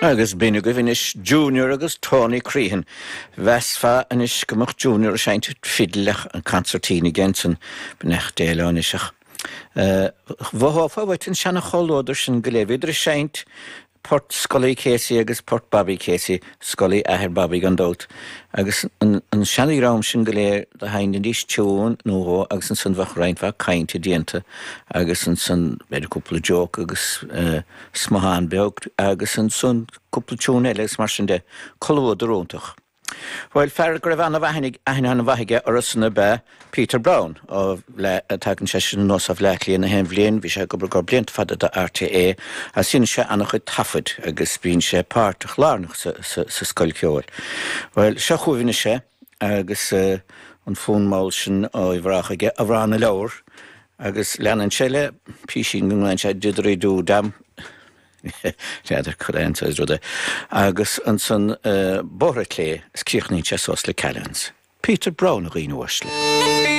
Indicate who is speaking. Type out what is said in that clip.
Speaker 1: Agus b'in agaibh anois Junior agus Tony Crehan. Mheasfá anois go mbeadh Junior ag seinnt fidil ach an concertina aige ansan, beannacht Dé leo anois ach mhothófá uait an seana-chomhluadar sin go léir. Bhíodar ag seinnt port Scully Casey agus port Bobby Casey, Scully athair Bobby gan dabht, agus an seana-dhream sin go léir do sheinnidís tiún nó dhó agus ansan bheadh roinnt mhaith cainte déanta agus ansan b'fhéidir cúpla joke agus smuthán beag agus ansan cúpla tiún eile agus mar sin de. Comhluadar iontach. Bhuel, fear go raibh an-aithne an-mhaith aige orthusan ab ea Peter Browne. Ó Bhleá, tagann seisean anuas ó Bhleá Cliath na haon bhliain, bhí sé ag obair go blianta fada do RTÉ agus dhein sé an-chuid taifead agus bíonn sé páirteach lárnach sa scoil cheoil. Bhuel, seo chugaibh anois é agus an fonn mall sin ó Uíbh Ráthach aige, Amhrán na Leabhar, agus leanann sé le písín go nglaonn sé Diddley Doo Dam. N'fheadar cad é an saghas rud é. Agus ansan Bóithre Clé is críochnaíonn sé suas le Callahan's. Peter Browne a dhaoine uaisle.